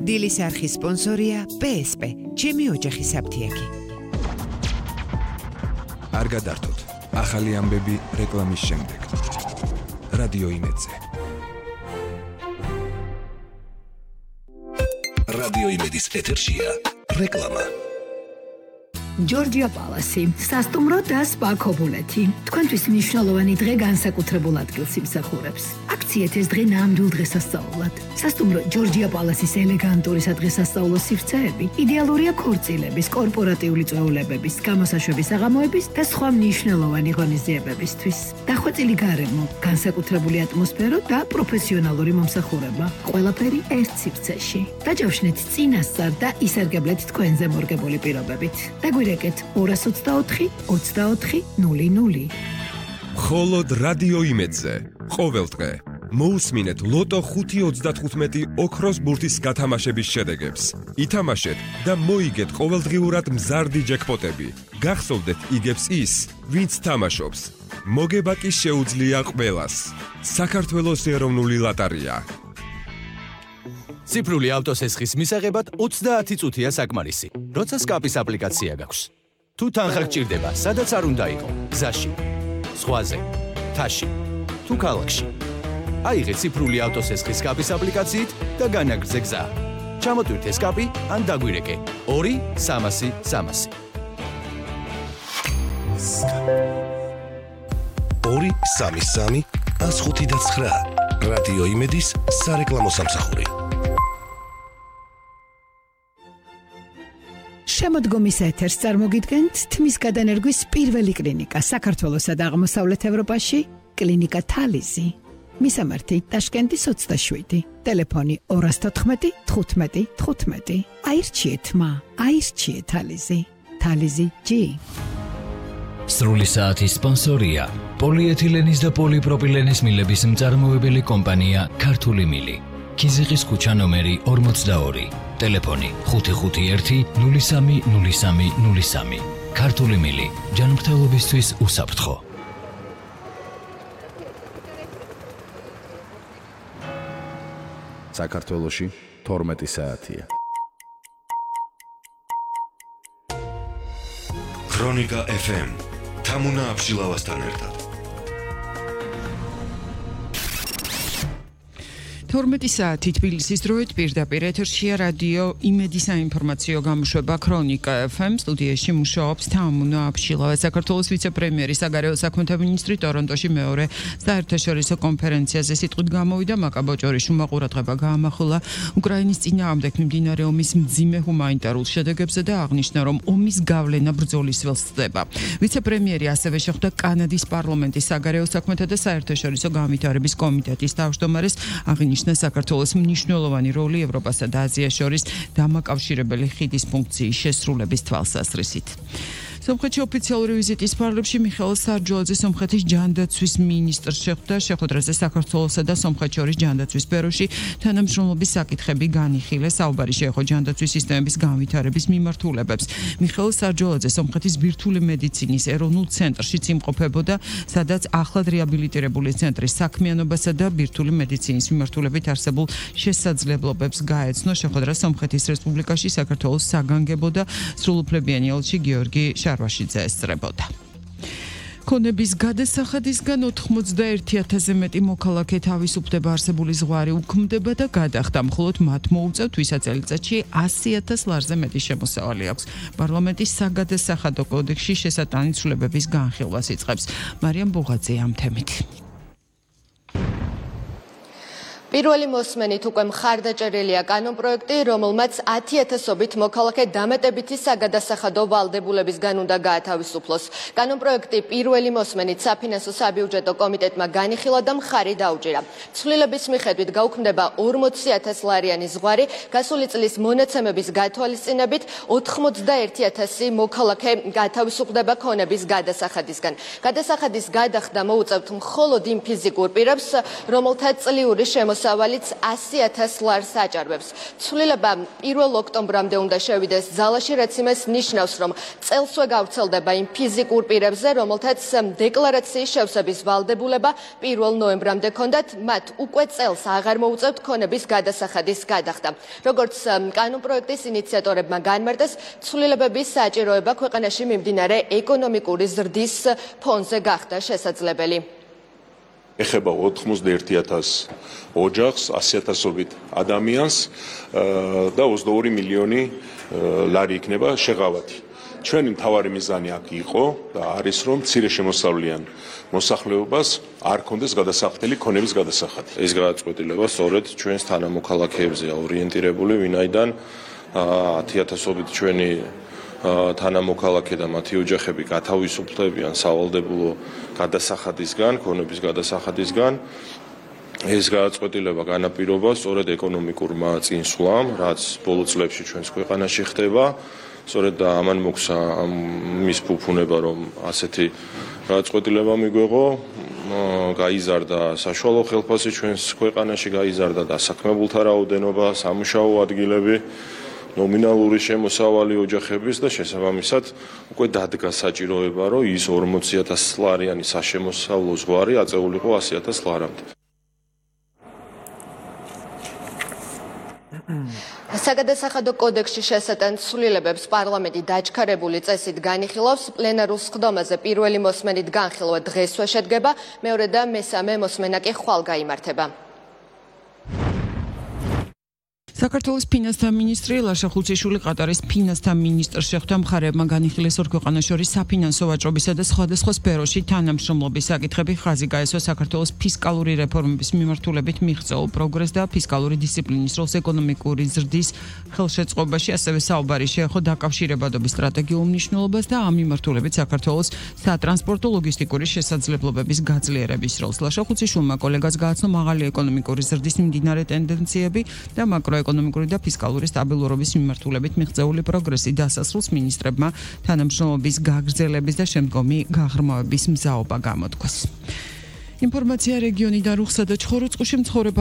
დილის არხის სპონსორია PSP, ჩემი ოჯახის საფთიაქი. არ გადართოთ, ახალი ამბები რეკლამის შემდეგ. რადიო იმედზე. რადიო იმედის ეთერშია რეკლამა. ჯორჯია პალასი, სასტუმრო და სპა ქობულეთი. თქვენთვის მნიშვნელოვანი დღე განსაკუთრებულ ადგილს იმსახურებს. აქციეთ ეს დღე ნამდვილ დღესასწაულად. სასტუმრო ჯორჯია პალასის ელეგანტური სადღესასწაულო სივრცეები იდეალურია ქორწილების, კორპორატიული წვეულებების, გამოსაშვების საღამოების და სხვა მნიშვნელოვანი ღონისძიებებისთვის. დახვეწილი გარემო, განსაკუთრებული ატმოსფერო და პროფესიონალური მომსახურება. ყველაფერი ერთ სივრცეში. დაჯავშნეთ წინასწარ და ისარგებლეთ თქვენზე მორგებული პირობებით. დაგვირეკეთ 224 24 00. მხოლოდ რადიო იმედზე. ყოველ დღე მოусმინეთ ლოტო 5.35 ოქროს ბურთის გათამაშების შედეგებს. ითამაშეთ და მოიგეთ ყოველდღიურად მზარდი ჯეკპოტები. გახსოვდეთ იგებს ის, ვინც თამაშობს. მოგება კი შეუძლია ყველას. საქართველოს ეროვნული ლოტარია. ციფრული ავტოსესხის მისაღებად 30 წუთია საკმარისი. როცა სკაპის აპლიკაცია გაქვს. თუ თანხა გჭირდება, სადაც არ უნდა იყო, გზაში, ზღვაზე, თაში, თუ ქალაქში. აიღეთ ციფრული ავტოსესხის სკაპის აპლიკაციით და განაგრძე გზა. ჩამოტვირთე სკაპი ან დაგვირეკე 2-300-300. 2-3-3-105-9. რადიო იმედის სარეკლამო სამსახური. შემოდგომის ეთერს წარმოგიდგენთ თმის გადანერგვის პირველი კლინიკა საქართველოსა და აღმოსავლეთ ევროპაში, კლინიკა თალიზი. მისამართი ტაშკენტის 27, ტელეფონი 214 15 15. აირჩიეთ მა, აირჩიეთ თალიზი. თალიზი G. სრული საათის სპონსორია პოლიეთილენის და პოლიპროპილენის მილების მწარმოებელი კომპანია ქართული მილი. ქიზიყის ქუჩა ნომერი 42, ტელეფონი 551 03 03 03. ქართული მილი, ჯანმრთელობისთვის უსაფრთხო. საქართველოში 12 საათია. ქრონიკა FM. თამუნა აფშილავასთან ერთად. 12 საათი თბილისის დროით პირდაპირ ეთერშია რადიო იმედის საინფორმაციო გამოშვება ქრონიკა FM. სტუდიაში მუშაობს თამუნა აფშილავა. საქართველოს ვიცე-პრემიერი, საგარეო საქმეთა მინისტრი ტორონტოში მეორე საერთაშორისო კონფერენციაზე სიტყვით გამოვიდა. მაკაბოჭორიშვილმა ყურადღება გაამახვილა უკრაინის წინააღმდეგ მიმდინარე ომის მძიმე ჰუმანიტარულ შედეგებზე და აღნიშნა, რომ ომის გავლენა ბრძოლის ველს ხდება. ვიცე-პრემიერი ასევე შეხვდა კანადის პარლამენტის საგარეო საქმეთა და საერთაშორისო განვითარების კომიტეტის თავმჯდომარეს. აღნიშნა საქართველოს მნიშვნელოვანი როლი ევროპასა და აზიას შორის დამაკავშირებელი ხიდის ფუნქციის შესრულების თვალსაზრისით. სომხეთში ოფიციალური ვიზიტის ფარგლებში მიხეილ სარჯოლაძე სომხეთის ჯანდაცვის მინისტრს შეხვდა. შეხვედრაზე საქართველოსა და სომხეთს შორის ჯანდაცვის სფეროში თანამშრომლობის საკითხები განიხილეს. საუბარი შეეხო ჯანდაცვის სისტემების განვითარების მიმართულებებს. მიხეილ სარჯოლაძე სომხეთის ბირთვული მედიცინის ეროვნულ ცენტრშიც იმყოფებოდა, სადაც ახლად რეაბილიტირებული ცენტრის საქმიანობასა და ბირთვული მედიცინის მიმართულებით არსებულ შესაძლებლობებს გაეცნო. შეხვედრა სომხეთის რესპუბლიკაში საქართველოს საგანგებო და სრულუფლებიანი ელჩი გიორგი შარვაშიძე ესწრებოდა. ქონების გადასახადისგან 91,000-ზე მეტი მოქალაქე თავისუფლდება, არსებული ზღვარი უქმდება და გადახდა. მხოლოდ მათ მოუწევთ ვისაც წელიწადში 100,000 ლარზე მეტი შემოსავალი აქვს. პარლამენტის საგადასახადო კოდექსში შესატანი ცვლილებების განხილვას იწყებს. მარიამ ბუღაძე ამ თემით. პირველი მოსმენით უკვე მხარდაჭერილია კანონპროექტი, რომელმაც 10,000-ობით მოქალაქე დამატებითი საგადასახადო ვალდებულებისგან უნდა გაათავისუფლოს. კანონპროექტი პირველი მოსმენით საფინანსო საბიუჯეტო კომიტეტმა განიხილა და მხარი დაუჭირა. ცვლილების მიხედვით გაუქმდება 40,000 ლარიანი ზღვარი, გასული წლის მონაცემების გათვალისწინებით 91,000 მოქალაქე გაათავისუფლდება ქონების გადასახადისგან. გადასახადის გადახდა მოუწევთ მხოლოდ იმ ფიზიკურ პირებს, რომელთა წლიური შემოსავალი შემოსავალიც 100,000 ლარს აჭარბებს. ცვლილება 1 ოქტომბრამდე უნდა შევიდეს ძალაში, რაც იმას ნიშნავს, რომ წელსვე გავრცელდება იმ ფიზიკურ პირებზე, რომელთაც დეკლარაციის შევსების ვალდებულება 1 ნოემბრამდე ჰქონდათ, მათ უკვე წელს აღარ მოუწევთ ქონების გადასახადის გადახდა. როგორც კანონპროექტის ინიციატორებმა განმარტეს, ცვლილებების საჭიროება ქვეყანაში მიმდინარე ეკონომიკური ზრდის ფონზე გახდა შესაძლებელი. ეხება 91,000 ოჯახს, 100,000-ობით ადამიანს და 22 მილიონი ლარი იქნება შეღავათი. ჩვენი მთავარი მიზანი აქ იყო და არის, რომ მცირე შემოსავლიან მოსახლეობას არ ქონდეს გადასახდელი ქონების გადასახადი. ეს გადაწყვეტილება სწორედ ჩვენს თანამოქალაქეებზეა ორიენტირებული, ვინაიდან 10,000-ობით ჩვენი თანამოქალაქე და მათი ოჯახები გათავისუფლებიან სავალდებულო გადასახადისგან, ქონების გადასახადისგან. ეს გადაწყვეტილება განაპირობა სწორედ ეკონომიკურმა წინსვლამ, რაც ბოლო წლებში ჩვენს ქვეყანაში ხდება. სწორედ და ამან მოგცა მის ფუფუნება, რომ ასეთი გადაწყვეტილება მიგვეღო, გაიზარდა საშუალო ხელფასი ჩვენს ქვეყანაში, გაიზარდა დასაქმებულთა რაოდენობა, სამუშაო ადგილები, ნომინალური შემოსავალი ოჯახების და შესაბამისად უკვე დადგა საჭიროება, რომ ის 40,000 ლარიანი საშემოსავლო ზღვარი აწეულიყო 100,000 ლარამდე. საგადასახადო კოდექსში შესატან ცვლილებებს პარლამენტი დაჩქარებული წესით განიხილავს. პლენარულ სხდომაზე პირველი მოსმენით განხილვა დღესვე შედგება, მეორე და მესამე მოსმენა კი ხვალ გაიმართება. საქართველოს ფინანსთა მინისტრი ლაშა ხუციშვილი ყატარის ფინანსთა მინისტრს შეხვდა. მხარეებმა განიხილეს ორ ქვეყანას შორის საფინანსო ვაჭრობისა და სხვადასხვა სფეროში თანამშრომლობის საკითხები. ხაზი გაესვა საქართველოს ფისკალური რეფორმების მიმართულებით მიღწეულ პროგრესს და ფისკალური დისციპლინის როლს ეკონომიკური ზრდის ხელშეწყობაში. ასევე საუბარი შეეხო დაკავშირებადობის სტრატეგიულ მნიშვნელობას და ამ მიმართულებით საქართველოს სატრანსპორტო ლოგისტიკური შესაძლებლობების გაძლიერების როლს. ლაშა ხუციშვილმა კოლეგას გააცნო მაღალი ეკონომიკური ზრდის მიმდინარე ტენდენციები და ეკონომიკური და ფისკალური სტაბილურობის მიმართულებით მიღწეული პროგრესი. დასასრულს მინისტრებმა თანამშრომლობის გაგრძელების და შემდგომი გაღრმავების მზაობა გამოთქვეს. ინფორმაცია რეგიონიდან. რუხსა და ჩხოროწყუში მცხოვრებ